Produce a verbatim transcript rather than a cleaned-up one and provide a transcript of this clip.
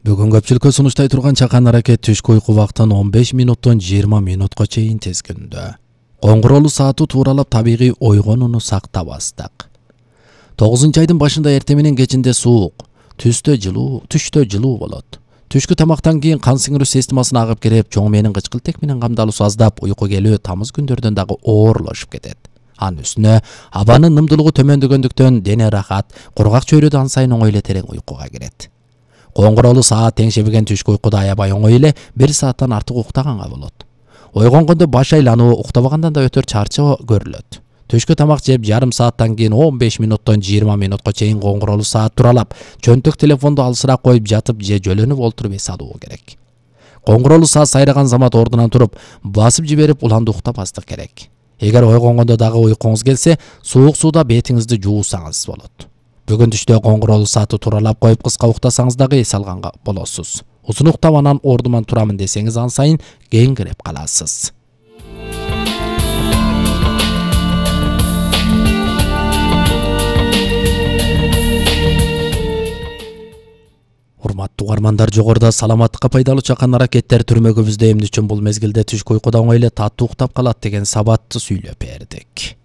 Бүгүн көпчүлүккө сунуштай турган чакан аракет түшкү уйку убактын он беш минуттон жыйырма минутка чейин тезгиндө. Коңгуроолу сааты тууралап табигый ойгонууну сактабастык. тогузунчу айдын башында эртең менен кечинде суук, түстө жылуу, түштө жылуу болот. Түшкү тамактан кийин кан сиңирүү системасына агып кирип, чоң мээнин кычкылтек менен камдалуусу аздап, уйку келүү тамыз күндөрдөн дагы оорлошуп кетет. Анын үстүнө абанын нымдуулугу төмөндөгөндүктөн дене рахат, кургак чөйрөдө ан сайын оңой эле терең уйкуга кирет. Коңгуроолу саат теңшебеген түшкү уйкуда аябай оңой эле бир сааттан артык уктаганга болот. Ойгонгондо баш айлануу, уктабагандан да өтөр чарчоо көрүлөт. Түшкү тамак жеп жарым сааттан кийин он беш минуттон жыйырма минутка чейин коңгуроолу саат туралап, чөнтөк телефонду алысыраак коюп жатып же жөлөнүп олтуруп эс алуу керек. Коңгуроолу саат сайраган замат ордунан туруп, басып жиберип уланды уктабастык керек. Эгер ойгонгондо дагы уйкуңуз келсе, суук сууда бетиңизди жуусаңыз болот. Бүгүн түштө коңгуроолу сааты туралап коюп кыска уктасаңыз дагы эс алганга болосуз. Узун уктап анан ордуман турамын десеңиз ан сайын кеңирип каласыз. Урматтуу угармандар, жогоруда саламаттыкка пайдалуу чакан аракеттер түрмөгүбүздө эмне үчүн бул мезгилде түшкү уйкуда оңой эле таттуу уктап калат деген сабатты сүйлөп бердик.